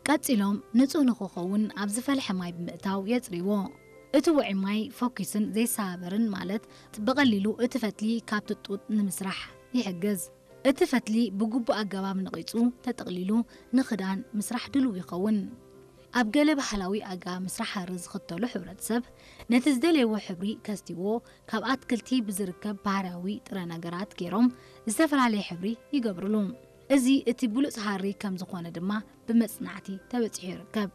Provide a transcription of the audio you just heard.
ቀጺሎም ንጹህ ንኽኸውን ኣብ ዝፈልሐ ማይ ብምእታው የጽርይዎ። እቲ ውዑይ ማይ ፈኲስን ዘይሰባበርን፣ ማለት ብቐሊሉ እቲ ፈትሊ ካብቲ ጡጥ ንምስራሕ ይሕግዝ። እቲ ፈትሊ ብግቡእ ኣገባብ ነቒጹ ተጠቕሊሉ ንኽዳን ምስራሕ ድሉው ይኸውን። ኣብ ገለ ባህላዊ ኣገባብ ምስራሕ ሃሪ ዝኽተሉ ሕብረተሰብ፣ ነቲ ዝደለይዎ ሕብሪ ከስትይዎ ካብ ኣትክልቲ ብዝርከብ ባህርያዊ ጥረ ነገራት ገይሮም ዝተፈላለየ ሕብሪ ይገብርሉ። እዚ እቲ ብሉጽ ሃሪ ከም ዝኾነ ድማ ብመጽናዕቲ ተበጺሑ ይርከብ።